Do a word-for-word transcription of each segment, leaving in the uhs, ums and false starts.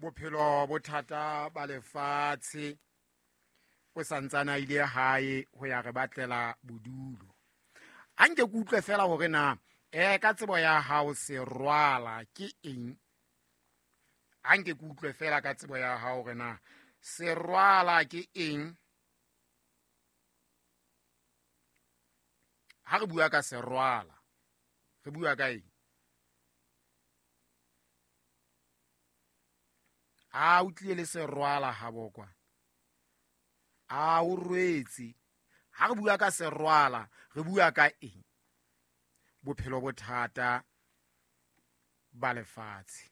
Bophelo bothata ba lefatshe o santsana ile hae ho ya re batlela bodulo. A nke ke utlwe fela hore na eh ka tsebo ya hao serwala ke eng. A nke ke utlwe fela ka tsebo ya hao hore na serwala ke eng. Ha re bua ka serwala re bua ka eng? A o tlile le serwala ha bokwa. A o rwetse. Ha re bua ka serwala re bua ka eng? Bophelo bothata ba lefatshe.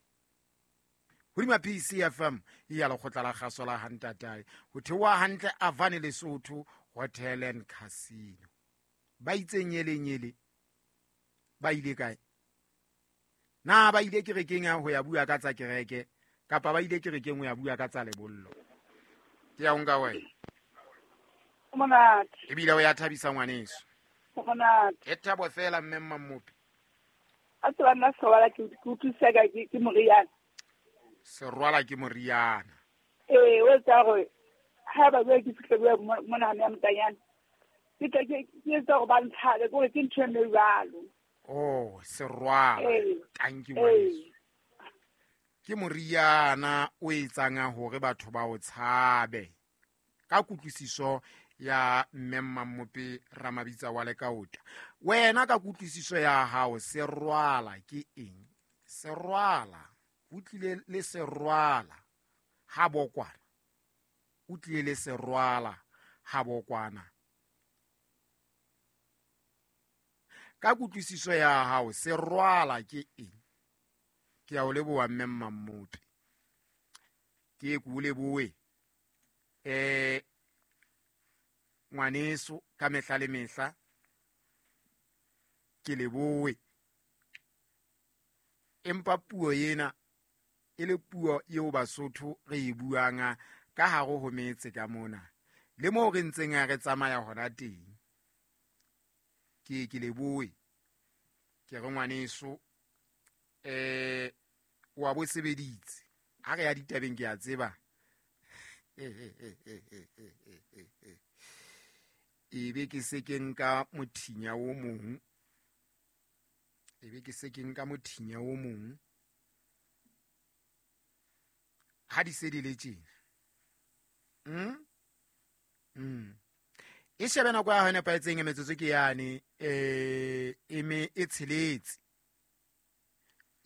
Hodima P C F M ya lekgotla la kgaso la Hantatae ho theoha hantle Avane Lesotho Hotel and Casino. Ba itse nyele nyele ba ile kae? Na ba ile kerekeng ya ho ya bua ka tsa kereke kapa ba ile kerekeng ho ya bua ka tsa lebollo? Ke ya nka wena. Monate. Ebile o ya thabisa ngwaneso. Monate. E thabo fela mme Mmamopi. A tswa nna serwala ke utlwisa ka ke moriana. Serwala ke moriana. Eh, o tsa gore ha ba bua ke fihle bua mona ya motanyana. Ke tla ke ke tsa go ba ntshabe gore ke ntho e jwalo. Oh, serwala. Thank you ngwaneso. Ke moriana o etsang hore batho ba o tshabe. Ka kutlwisiso ya mme Mmamopi Ramabitsa wa Lekaota. Wena ka kutlwisiso ya hao serwala ke eng? Serwala o tlile le serwala ha bokwana. O tlile le serwala ha bokwana. Ka kutlwisiso ya hao serwala ke eng? Ke a o leboha mme Mmamopi. Ke ku lebohe. Eh ngwaneso ka mehla le mehla ke leboe. Empa puo ena e le puo eo Basotho re e buang ka hare ho metse ka mona le moo re ntseng re tsamaya hona teng. Ke ke leboe ke re ngwaneso eh wa bo sebeditse. Ha re ya ditabeng ke a tseba. E be ke se ke nka mothinya o mong. E be ke se ke nka mothinya o mong. Ha di se di le tjena. Mm? Mm. E shebe nako ya hona paetseng metsotso ke yane eh e me e tsheletse.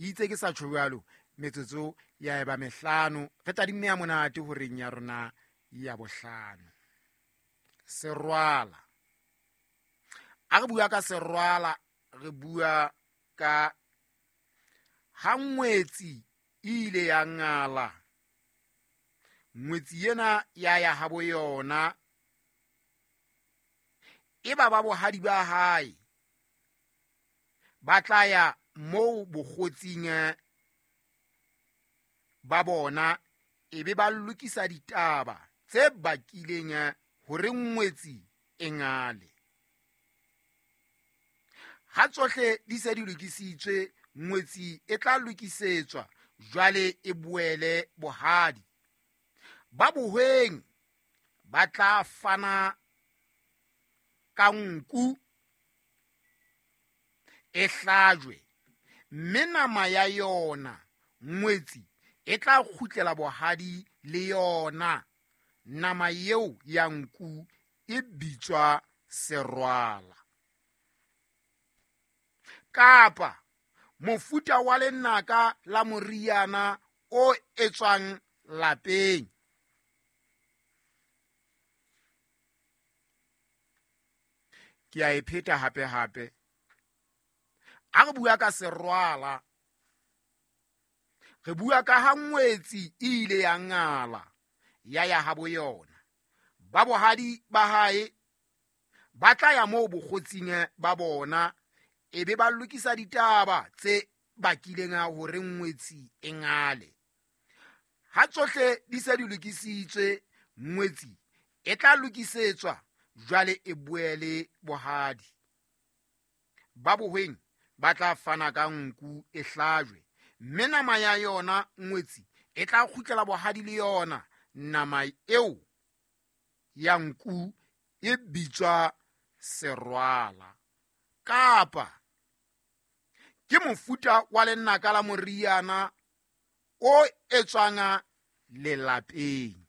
Itse ke sa tjho jwalo metsotso ya eba mehlano re tadimme ya monate horeng ya rona ya bohlano. Serwala. A re bua ka serwala re bua ka ha ngwetsi ile ya ngala. Ngwetsi ena ya ya habo yona e ba ba bohadi ba hae ba tla ya moo bokgotsing ba bona e be ba lokisa ditaba tse bakileng hore ngwetsi e ngale. Ha tsohle di se di lokisitswe ngwetsi e tla lokisetswa jwale e boele bohadi. Ba bohweng ba tla fana ka nku e hlajwe mme nama ya yona ngwetsi e tla kgutlela bohadi le yona. Nama eo ya nku e bitswa serwala. Kapa mofuta wa lenaka la moriana o etswang lapeng. Ke a e pheta hape hape. A re bua ka serwala re bua ka ha ngwetsi e ile ya ngala ya ya habo yona. Ba bohadi ba hae ba tla ya moo bokgotsing ba bona e be ba lokisa ditaba tse bakileng hore ngwetsi e ngale. Ha tsohle di se di lokisitswe Ngwetsi e tla lokisetswa jwale e boele bohadi. Ba bohweng ba tla fana ka nku e hlajwe, mme nama ya yona ngwetsi e tla kgutlela bohadi le yona. Nama eo ya nku e bitswa serwala, kapa ke mofuta wa lenaka la moriana o etswang lelapeng.